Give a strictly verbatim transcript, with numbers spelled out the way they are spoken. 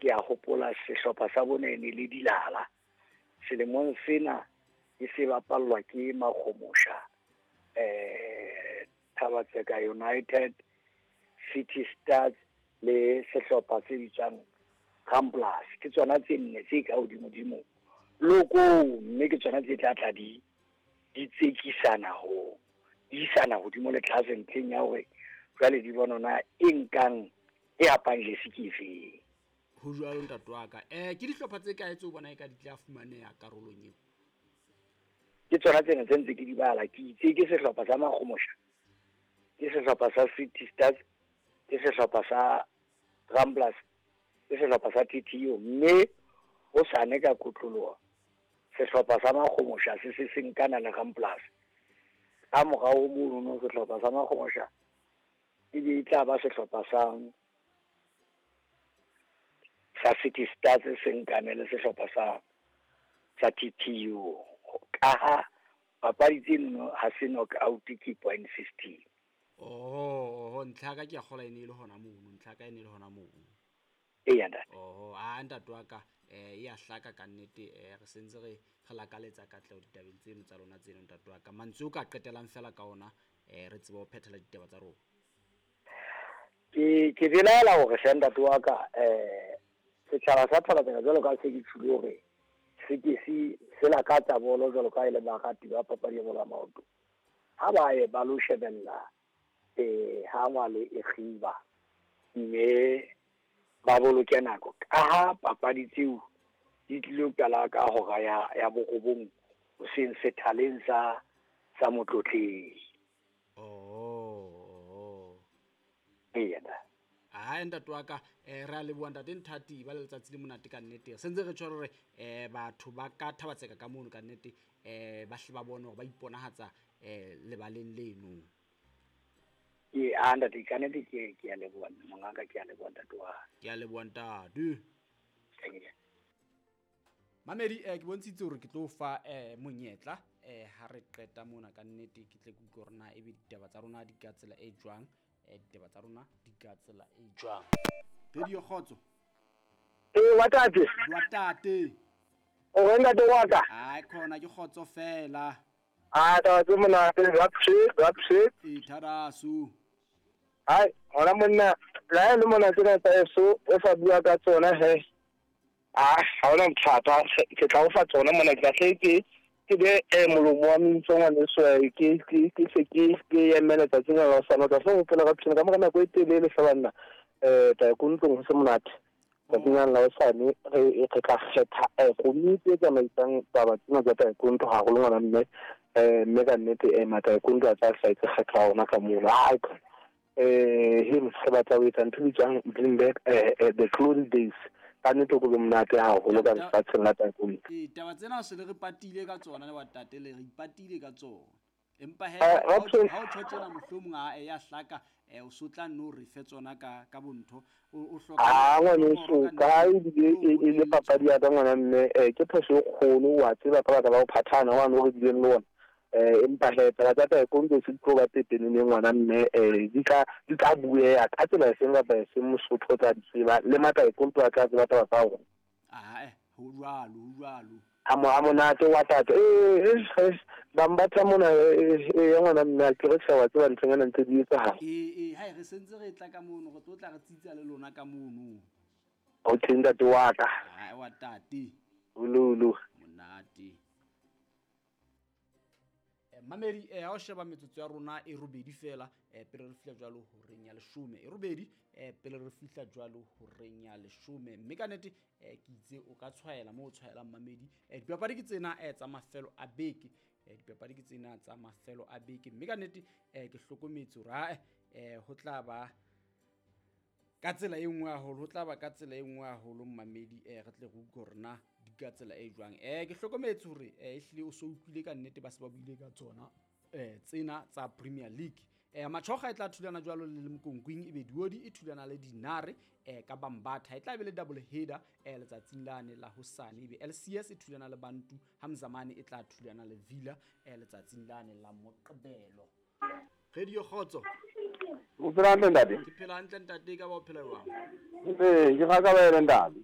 Ke a hopola sehlopha sa bone ne le Dilala. Selemong sena e se bapallwa ke Makgomosha, eh Thabatseka United, City Stars le sehlopha se bitswang Ramblers. Ke tsona tse nne tse ka hodimodimo loko, mme ke tsona tse tla tla di di tsekisana ho di isana hodimo le tlase ntlheng ya hore jwale di bona na e nkang e hapang jesi ke efeng. Ho jwalo ntate wa ka. Eh ke dihlopha tse kae tseo bona e ka di tla fumaneha karolong eo? Ke tsona tsena tse ntse ke di bala. Ke itse ke sehlopha sa Makgomosha, ke sehlopha sa City Stars, ke sehlopha sa Ramblers, ke sehlopha sa T T U, mme ho sane ka kotloloha sehlopha sa Makgomosha se se se nkana le Ramblers. Ka morao mono sehlopha sa Makgomosha e be e tla ba sehlopha sa sa City Stars se nkane le sehlopha sa sa T T U. Kaha papadi tseno ha se knock out ke point system. Oh, oh, ntlha ka ke a kgola e ne le hona mono, ntlha ka e ne le hona mono. Eya ntate. Oh, a ntate wa ka eh ya hlaka ka nnete, eh re sentse re re lakaletsa katleho ditabeng tseno tsa lona tseno ntate wa ka. Mantswe o ka qetelang fela ka ona eh re tsebe ho phethela ditaba tsa rona. Ke ke belaela hore hle ntate wa ka eh setjhaba sa Thabatseka jwalo ka se ke tshwile hore se ke se se lakatsa bolo jwalo ka e le barati ba papadi ya bolo ya maoto. Ha ba ye ba lo shebella eh ha ngwale e kgiba mme ba boloke nako ka ha papadi tseo di tlilo qala ka hora ya ya borobong hoseng sethaleng sa sa Motlotleng. Oh, oh. Eya ntate. Ah ntate wa ka eh re a leboha ntate Nthati ba le letsatsi le monate ka nnete. Sentse re tshwere hore eh batho ba ka Thabatseka ka mono ka nnete eh ba hle ba bone hore ba iponahatsa eh lebaleng leno. Ke a ntate ka nnete ke ke a leboha mongaka, ke a leboha ntate wa. Ke a leboha ntate. Mamedi eh ke bontshitse hore ke tlo fa eh monyetla eh ha re qeta mona ka nnete ke tle ke utlwe hore na ebe ditaba tsa rona di ka tsela e jwang. Eh ditaba tsa rona di ka tsela e jwang. Radio Kgotso. Eh wa tate. Wa tate. O re ntate wa ka? Ai khona ke kgotso fela. Ah taba tse monate, rapshe, rapshe. E tharasu. Ai, hona monna, la le mona tsena tsa eso, o sa bua ka tsona he. Ah, ha ona bothata, ke tla o fa tsona mona ke tla ke ke be eh molomo wa mintso ngwaneso ke ke ke se ke ke emela tsatsing la hosane. O tla hloka ho phela ka phela ka mora nako e telele hle banna. Eh taekwondo ho se monate. Tsatsing la hosane re re tla kgetha eh komiti e tsamaisang taba tsena tsa taekwondo haholo ngwana mme eh mme ka nnete eh mataekwondo a tla hlaetse kgetho ya rona ka mono. Ai eh him se batla ho etsa ntho e bitswang bring back eh the glory days. Ka nnete go be monate haholo ka lefatsheng la taekwondo. Ee, taba tsena se le re patile ka tsona le batate le re ipatile ka tsona. Empa he ha o tjho tjena mohlomong a ya hlaka eh o sotla no re fe tsona ka ka bontho o hloka. Ah ngwaneso ka ebile e le papadi ya ka ngwana mme eh ke phoso e kgolo wa tseba ka baka la ho phathana wa no re bileng le ona. Eh empa he taba tsa taekwondo se di tlo ba pepeneneng ngwana mme eh di tla di tla bueha ka tsela e seng kapa e seng Mosotho o tla di tseba le mataekwondo a tla tseba taba tsa rona. Ah eh ho jwalo ho jwalo. A mo a monate wa tate eh eh ba mbatla mona eh ya ngwana mme a ke re tjha wa tseba nthonyana ntse di etsahala. Eh eh hai re sentse re tla ka mono re tlo tla re tsitsa le lona ka mono. Okay ntate wa ka. Hai wa tate. Ululu. Monate. Mamedi eh ha o sheba metsotso ya rona e robedi fela eh pele re fihla jwalo horeng ya leshome e robedi eh pele re fihla jwalo horeng ya leshome mme ka nnete eh ke itse o ka tshwaela mo o tshwaelang mamedi eh dipapadi ke tsena eh tsa mafelo a beke eh dipapadi ke tsena tsa mafelo a beke mme ka nnete eh ke hlokometse hore ha eh ho tla ba ka tsela e nngwe haholo ho tla ba ka tsela e nngwe haholo mamedi eh re tle re utlwe hore na di ka tsela e jwang. Eh ke hlokometse hore eh ehlile o so utlwile ka nnete ba se ba buile ka tsona eh tsena tsa Premier League. Eh Machoga e tla thulana jwalo le Lemkonkwing ebe Diodi e thulana le Dinare eh ka Bambatha e tla be le double header eh letsatsing lane la hosane ebe L C S e thulana le Bantu Hamzamane e tla thulana le Villa eh letsatsing lane la Moqebelo. Radio Kgotso. O phela hantle ntate? Ke phela hantle ntate, ka ba o phela jwang? Ee, ke rata ba ene ntate.